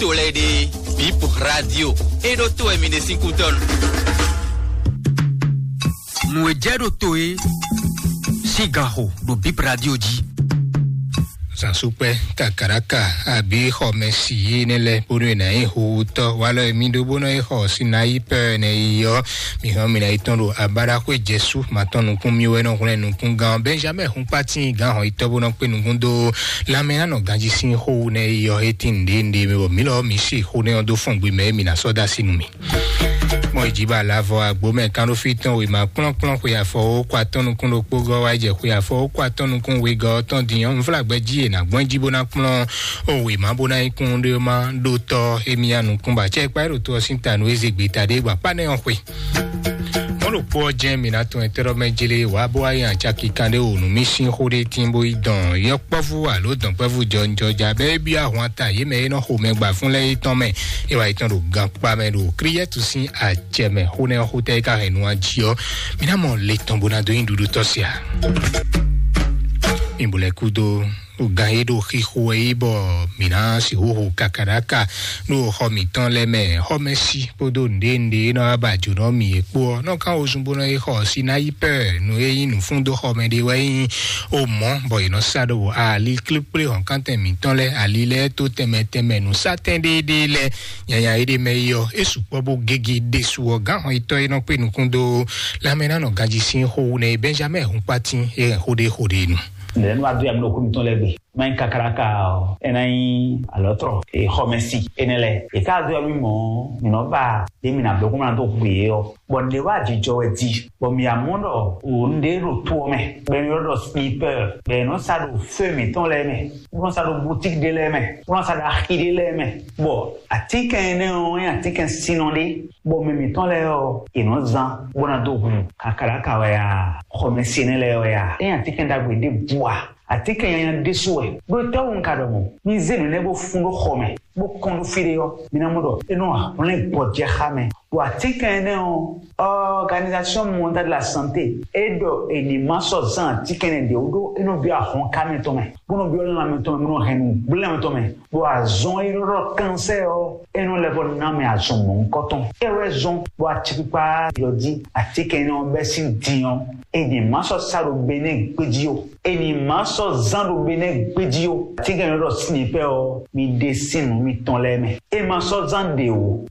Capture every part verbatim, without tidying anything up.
to lɛ́ɛ ɖe, Bip Radio, é ɖó to wɛ mi ɖe sín kútɔ́nu. Nǔ e jɛ ɖo to é sín gan xo ɖo Bip Radio jí. Zansukpɛ, kakaraka, àbí xɔmɛsi énɛ́ lɛ́ɛ bónú è nǎ nyí howutɔ́ walɔ e mì ɖó bó nɔ yi xɔ Sinayi pɛ́ ɛnɛ yi ɔ́, mǐ hɔn mǐ ná yi tɔn ɖo abáɖaxwé Jɛsu ma tɔn nukún mì wɛ nɔ hwlɛ́n nukúngán Benjamin Hunpatin gán hɔn yi tɔ́ bó nɔ kpé nukún dó lanmɛ ná nɔ ganjí sín xó wú nɛ yi ɔ́, é tín nǔɖé nǔɖé mɛ bɔ mǐ lɔ mǐ se xó nɛ ɔ́ dó fɔn gbe mɛ e mǐ ná sɔ́ dó así nú mì. Mɔ ìjìbá lǎvɔ àgbó mɛ kánɖófí tɔn wěma kplɔ́nkplɔ́n xwe afɔ ó kɔ atɔ́ nukún ɖokpó gɔ́ wá jɛ xwe afɔ ó kɔ atɔ́ nukún wegɔ́ ɔ́ tɔn din ɔ́, nflágbɛ́ jí è nǎ gbɔn jí bó ná kplɔ́n ó wěma bó ná nyí kún ɖé má ɖó tɔ́ émí ya nukún bɔ acɛkpá é ɖo to ɔ́ sín ta nú é zé gbeta ɖé gba kpá nɛ́ ɔ́ xwe. Mɔ̌ ɖokpó ɔ́ jɛ́n mǐ ná tunwun ɛtɛ́ɖɔ́ mɛ jlé wǎ bó wá nyi acaki kanɖé wǒ nú mì sín xó ɖé tín bó yi dɔn yɔkpɔ́vú alo dɔ̌nkpɛ́vú jɔnjɔja bɛ́ é byɔ́ ahwan ta yě mɛ e nɔ xo mɛ gba fún lɛ́ɛ é tɔn mɛ. É wá yi tɔn ɖo gankpá mɛ ɖo Klíɛ́tu sín acɛ mɛ xó nɛ́ ɔ́ xó tɛ́ é ka hɛn nu ɔ́ jí ɔ́, mǐ ná mɔ le tɔn bó ná dó nyi ɖuɖu tɔ́ se ǎ. Mi bo lɛ́ kúdó gan e ɖo xixo wɛ é bɔ mǐ ná sixú hu kakaɖaka ɖo xɔ mǐtɔn lɛ́ɛ mɛ xɔmɛsi kpódó nǔɖé nǔɖé e nɔ wá ba jǒnɔ mǐ é kpó ɔ́ nɔ kán wozun bó nɔ yi xɔ Sinayi pɛ́ nú é nyí nǔfúndóxɔmɛ ɖé wɛ nyí o mɔ̌ bɔ è nɔ sa ɖo ali kplékplé hɔ̌nkántɛn mǐtɔn lɛ́ɛ ali lɛ́ɛ tó tɛnmɛ tɛnmɛ nǔsátɛn ɖéeɖée lɛ́ɛ nyanya éɖée mɛ yi ɔ́ é sukpɔ́ bó gégé ɖésú ɔ́ gǎn hɔnyitɔ́ e nɔ kpé nukún dó lanmɛ ná nɔ ganjí sín xó wú nɛ Benjamin Hunpatin é hɛn xó ɖé xó ɖé nu. Nɛ̌ nɔ wá dó ya mi ɖo xó mitɔn lɛ́ɛ gbe? Má nyí kakáláka ɔ́, é ná nyí alɔ̌trɔ, e xɔmɛsi énɛ́ lɛ́ɛ. È ká dó ya mì mɔ̌, mǐ nɔ ba ɖě mǐ ná bló kó má ná dó hu yě ɔ́. Bɔ nǔɖé wá jijɔ wɛ di, bɔ mǐ amɔ ɖɔ wǒ nǔɖé ɖo to ɔ́ mɛ, bɔ è nɔ ɖɔ slipɛ́, bɔ è nɔ sa ɖo fé mǐtɔn lɛ́ɛ mɛ, bó nɔ sa ɖo bútík ɖé lɛ́ɛ mɛ, bó nɔ sa ɖo axi ɖé lɛ́ɛ mɛ, bɔ atínkɛn énɛ́ ɔ́ nyí atínkɛn sinnɔ ɖé, bɔ mɛ mǐtɔn lɛ́ɛ ɔ́, è nɔ zán bó ná dó hu kakáláka wɛ a, xɔmɛsi énɛ́ lɛ́ɛ wɛ a, é nyí atínkɛn ɖagbe ɖěbǔ a? Atínkɛn nyanya ɖésú wɛ. Ɖó étɛ́wú un ka ɖɔ mɔ̌? Mi zé nǔ énɛ́ bó fún ɖó xɔ mɛ, bó kɔn ɖó fí ɖé ɔ́, mi ná mɔ ɖɔ é nɔ hwlɛ́n gbɔjɛxá mɛ. Ɖo atínkɛn énɛ́ ɔ́, Organisation Mondiale de la Santé é ɖɔ è ní ma sɔ́ zán atínkɛn énɛ́ ɖě wú ɖó é nɔ byɔ́ ahɔnká mɛtɔn mɛ, bó nɔ byɔ́ lanmɛ tɔn mɛ, bó nɔ hɛn nǔgblé lanmɛ tɔn mɛ. Ɖo azɔn e nɔ ɖɔ kansɛ́ ɔ́, é nɔ lɛ́ vɔ ná mɛ azɔn mɔ̌hunkɔtɔn. É wɛ zɔn bɔ acikpikpa yɔ jí atínkɛn énɛ́ ɔ́ bɛ́ sín din ɔ́, è ní ma sɔ́ sa ɖo Benɛ́ɛ gbéjí ó. È ní ma sɔ́ zán ɖo Benɛ́ɛ gbéjí ó. Atínkɛn e nɔ ɖɔ slipɛ́ ɔ́, mi ɖe sín nǔ mitɔn lɛ́ɛ mɛ. È ma sɔ́ zán ɖě ó.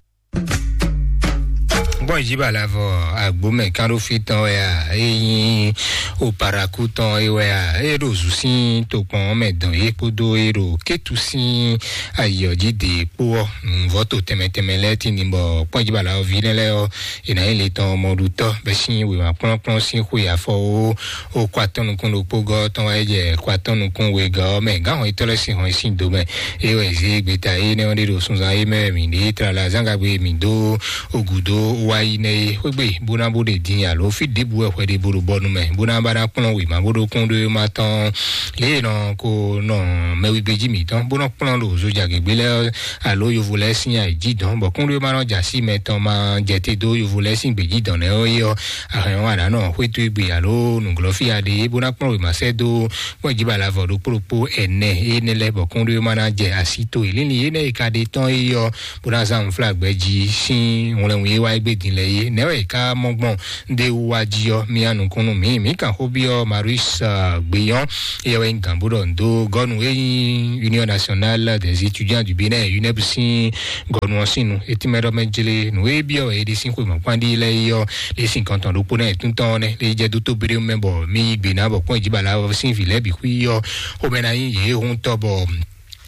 Gbɔn ìjìbá lavɔ agbomɛ kánɖófí tɔn wɛ a, é nyí oparaku tɔn é wɛ a, é ɖo zǔ sín tokpɔn mɛ dɔn yé kpódó é ɖo kétu sín ayɔ̌jí dě kpó ɔ́, nǔvɔ́ to tɛnmɛ tɛnmɛ lɛ́ɛ tín ní bɔ kpɔ́n ìjìbá lavɔ ví nɛ́ lɛ́ɛ ɔ́, è nǎ nyí le tɔn mɔɖutɔ́ bɛ́ sín wěma kplɔ́nkplɔ́n sín xwe afɔ ó, ó kɔ atɔ́ nukún ɖokpó gɔ́ tɔn wá jɛ kɔ atɔ́ nukún wegɔ́ ɔ́ mɛ gǎn hɔn yětɔn lɛ́ɛ sín hɔn sín do mɛ. É wɛ zé gbeta énɛ́ ɔ́ ɖe ɖo sunzan é mɛ wɛ mǐ ɖe tlala zán gagbe mǐ dó ogu dó wá yi nɛ́ é xwé gbe bó ná bó ɖe din alo fí ɖěbǔ wɛ hwɛ ɖe bó ɖo bɔnu mɛ bó ná ba ná kplɔ́n wěma bó ɖó kún ɖó ma tɔn lě e nɔ ko nɔ mɛwigbejí mǐtɔn bó nɔ kplɔ́n ɖo zojagěgbé lɛ́ɛ alo yovo lɛ́ɛ sín ayǐjínjɔ́n bɔ kúnɖéwéma nɔ jɛ así mɛ tɔn ma jɛ te dó yovo lɛ́ɛ sín gbějínjɔ́n nɛ́ ɔ́ é ɔ́, ahɛn ɔ́ a nǎ nɔ xwétú égbé alo nǔglɔ́fí a ɖe bó ná kplɔ́n wěma sɛ́ dó kpɔ́n jí bala vɔ ɖokpó ɖokpó ɛnɛ énɛ́ lɛ́ɛ bɔ kúnɖéwéma ná jɛ así to e. Lílí énɛ́ e ka ɖe tɔn é ɔ́, bó ná zán nǔflágbɛ́ jí sín wlɛnwun e wá égbé din lɛ́ɛ é. Nɛ̌ wɛ è ká mɔ gbɔn ɖé wú wá jí ɔ́, mía nukúnnú mǐ, mǐ kan xó byɔ́ Marius Gbeyɔn, éyɛ́ wɛ nyí gǎnbúɖɔ ndo gɔ́nu e nyí Union Nationale des Étudiants du Bénin, UNEB sín gɔ́nu ɔ́ sín nu. Etí mɛ ɖɔ mɛ jlé nǔ e byɔ́ wɛ é ɖe sín xwe mɔ̌kpán ɖi lɛ́ɛ é ɔ́, lě sín kɔntɔn ɖokpó náà è tún tɔn ɔ́ nɛ́, lě jɛ dó tó béɖé mɛ bɔ mí yí gbe ná bɔ kpɔ́n ìjìbá la ɔ́ sín vǐ lɛ́ɛ bǐ xwí ɔ́, xomɛ ná nyí yě hun tɔ bɔ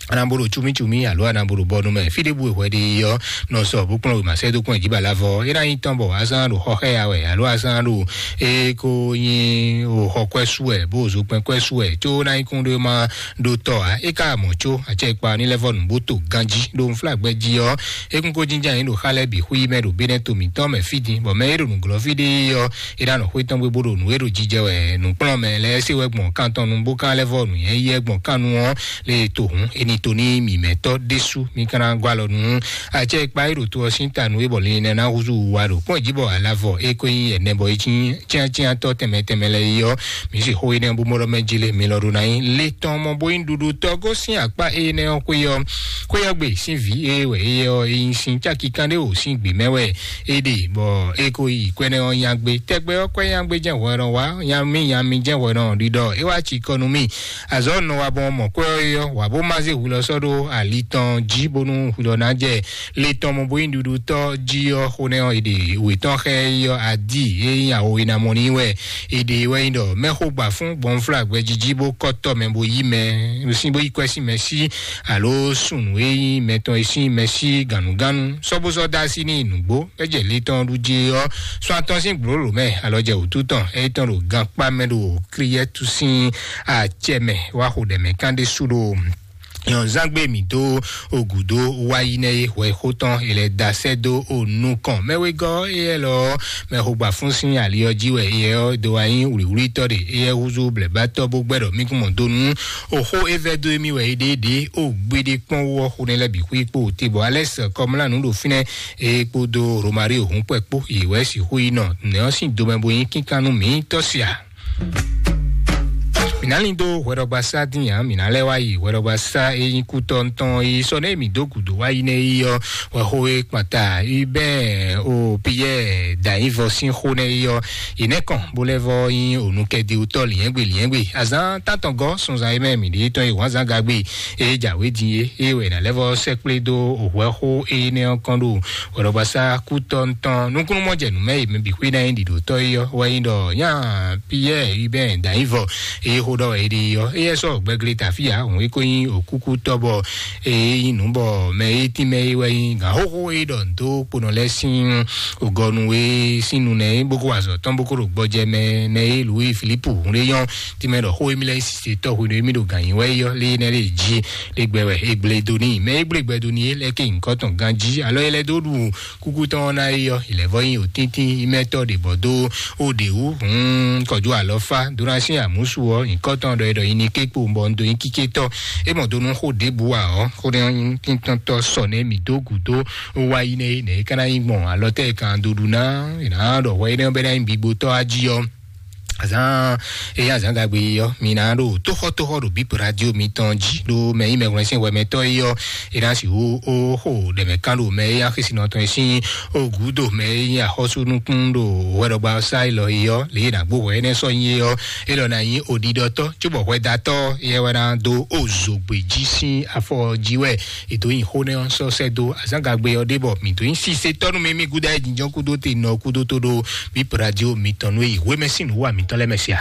anabolo tsumítsumí alo anabolo bɔnu mɛ fí ɖé bú hwɛ ɖi ɔ́ nɔ sɔ bó kplɔ́n wěma sɛ́ dó kpɔ́n ìjìbá la vɔ é ná nyí tɔn bɔ azán ɖo xɔ xɛ ya wɛ alo azán ɖo é kó nyí o xɔ kwɛ́ sú wɛ bó zo kpɛn kwɛ́ sú wɛ có ná nyí kún ɖó ma ɖó tɔ ǎ. É ka mɔ có acɛ kpa ní lɛ́ vɔ nǔ bó to ganjí ɖó nflágbɛ́ jí ɔ́, é kún kó jínjɔ́n ayǐ ɖo xá lɛ́ɛ bǐ xwí mɛ ɖo bénɛ́ to mǐtɔn mɛ fí din bɔ mɛ é ɖo nǔglɔ́fí ɖé ɔ́ é ná nɔ xwé tɔn gbé bó ɖo nǔ e ɖo jijɛ wɛ nǔkplɔ́nmɛ lɛ́ɛ se wɛ gbɔn kan tɔn nu bó ka lɛ́ vɔ nǔnyɛ́yɛ́ gbɔn kan nu ɔ́ lě e to hǔn é ní to ní mǐmɛtɔ́ ɖésú mí ka ná gɔ́ alɔ nú acɛ e kpa é ɖo to ɔ́ sín ta nú é bɔ linlin ná húzú wa ɖo kpɔ́n jí bɔ alavɔ é ko nyí ɛnɛ bɔ é cí cyáncyántɔ́ tɛnmɛ tɛnmɛ lɛ́ɛ é ɔ́, mǐ sì xó énɛ́ bú mɔɖɔ mɛ jí lé mi lɔ ɖó ná nyí le tɔn mɔ bó nyí ɖuɖu tɔ́ gosín akpá énɛ́ ɔ́ xwé ɔ́. Xwé ɔ́ gbe sín vǐ é wɛ é ɔ́ é nyí sín cáki kán ɖé wǒ sín gbě mɛ wɛ é ɖe bɔ é ko yi kwɛ́nɛ́ ɔ́ nyagbe tɛgbɛ ɔ́ kwɛ́ nyagbe jɛ́n hwɛ nɔ wá nyamí nyamí jɛ́n hwɛ nɔ ɖiɖɔ é wá ci kɔ nú mì. Azɔ̌ nɔ wa bɔ mɔ kwɛ́ ɔ́ é ɔ́ wǎ bó má zé hwi lɔ sɔ́ ɖó ali tɔn jí bónú hwi lɔ ná jɛ le tɔn mɔ bó nyí ɖuɖutɔ́ jí ɔ́ xó nɛ́ ɔ́ è ɖe wětɔn xɛ é ɔ́ adi é nyí awo e ná mɔ ní wɛ è ɖe wɛ nyí ɖɔ mɛxó gbà fún gbɔnflá gbɛjiji bó kɔ́tɔ mɛ bó yí mɛ sín bó yí kwɛ́ sín mɛ sí alo sunu e nyí mɛ tɔn e sín mɛ sí gǎnugǎnu sɔ́bósɔ́ dá sí ní nǔgbó é jɛ le tɔn ɖu jí ɔ́ sɔ́ atɔ́ sín gbǒlǒ mɛ alɔ jɛ wǔtu tɔn é tɔn ɖo gankpá mɛ ɖo kliyɛ́tu sín acɛ mɛ wá xo ɖɛ mɛ kán ɖé sú ɖo nyɔ̌nzángbe mǐ dó ogǔdó wá yi nɛ́ é hwɛ xó tɔn è lɛ́ da sɛ́ dó o nukɔn mɛwegɔ́ éyɛ́ lɔ mɛxogbafún sín ali ɔ́ jí wɛ éyɛ́ ɔ́ dó wá nyí wlǐwlítɔ́ ɖe éyɛ́ húzú blɛ̌bátɔ́ bó gbɛ́ ɖɔ mí kún mɔ dó nú oxó é vɛ́ dó émí wɛ é ɖéɖé o gbéɖé kpɔ́n wú ɔ́ xo nɛ́ lɛ́ bǐ xwí kpó te bɔ alɛ́ sɛ kɔmlánǔ ɖo fínɛ́ é kpódó romari òhún kpɛkpó yě wɛ sixú yi nɔ nɛ̌ ɔ́ sín domɛ bo nyí kínkán nú mǐ tɔ́ sia. Mǐ ná lín dó hwɛɖɔgbasá dín ǎ, mǐ ná lɛ́ wá yi hwɛɖɔgbasá e nyí kútɔ́ tɔn e sɔ́ nɛ́ mǐ dó gǔdo wá yi nɛ́ yi ɔ́, hwɛxó e kpanta Hubert o Pierre Danyivɔ sín xó nɛ́ yi ɔ́, yě nɛ́ kɔn bó lɛ́ vɔ nyí onukɛdíwútɔ́ lǐnyɛ́gbe lǐnyɛ́gbe. Azǎn tántɔn gɔ́ sunzan e mɛ mǐ ɖe tɔn e wǎnzán gagbe e jǎwe din é, é wɛ è nǎ lɛ́ vɔ sɛkplé dó hwɛxó énɛ́ ɔ́ kɔn ɖo hwɛɖɔgbasá kútɔ́ tɔn nukúnnú mɔ jɛ nǔ mɛ e mɛ bǐ xwé ná nyí ɖiɖotɔ́ é ɔ́ wɛ nyí ɖɔ nyá Pierre Hubert Danyivɔ eye xó ɖɔ wɛ é ɖe ɔ́ éyɛ́ sɔ́ gbɛglé tafíya òun é ko nyí òkúkútɔ́ bɔ é nyí nǔ bɔ mɛ e tín mɛ é wɛ nyí gǎn xóxó e ɖɔ dó kponɔ lɛ́ɛ sín ògɔnu e sín nu nɛ é bó kó wa azɔ̌ tɔn bó kó ɖo gbɔjɛ mɛ nɛ é Louis Philippe hun ɖé nyɔ́ tín mɛ ɖɔ xó émí lɛ́ɛ nyí sise tɔ́ hwenu émí ɖo gǎn nyi wɛ é ɔ́ lé nɛ lé jí lé gbɛ wɛ é gblé dó n'i mɛ é gblé gbɛ dó n'i é lɛ́ ké nyǐkɔ tɔn ganjí alɔ é lɛ́ dó ɖu kúkú tɔn ɔ́ ná yi ɔ́, ìlɛ̌vɔ́ nyi òtíntín mɛtɔ́ ɖě bɔ dó ó ɖě wú hǔn kɔjú alɔfá dó ná sín àmúsu ɔ́, nyǐkɔ tɔn ɖɔ é ɖɔ nyi ní kékpo bɔ un dó nyí kíkétɔ́. É mɔ dó nú xó ɖěbǔ ǎ ɔ́, xó ɖé nyí tíntɔ́ntɔ́ sɔ nɛ́ mǐ dó gǔdo ó wá yi nɛ́ é nɛ̌ é ka ná nyí gbɔn alɔ tɛ́ è kan dó ɖu ná è nǎ ɖɔ hwɛ énɛ́ ɔ́ bɛ́ ná nyí bigbo tɔ́ á jí ɔ́. Azán eya azán gagbe yi ɔ́ mi ná ɖo tóxɔtóxɔ ɖo bípo radio mitɔn jí ɖo mɛ yi mɛhwlɛ́n sín hwɛmɛtɔ́ yi ɔ́ e ná si hu ó xo ɖɛmɛ kán ɖo mɛ eya xesinɔ tɔn e sín ó gǔdo mɛ e nyí axɔ́súnukún ɖo hwɛɖɔgba sá élɔ́ yi ɔ́ lě e nǎ gbó hwɛ énɛ́ sɔ́ nyi é ɔ́, élɔ́ ná nyí oɖiɖɔtɔ́ cóbɔ hwɛdatɔ́ yɛ wɛ ná dó ó zǒgbé jí sín afɔ jí wɛ è dǒ nyi xó nɛ́ ɔ́ sɔ́ sɛ́ dó azán gagbe ɔ́ ɖé bɔ mǐ dó nyí sisetɔ́ nú mɛ mí gúdo ayé jínjɔ́n kúdó te nɔ kúdó tó ɖó bípo radio mitɔn nú e yi hwémɛ sín nǔ wa mǐtɔn lɛ́ɛ mɛ sia.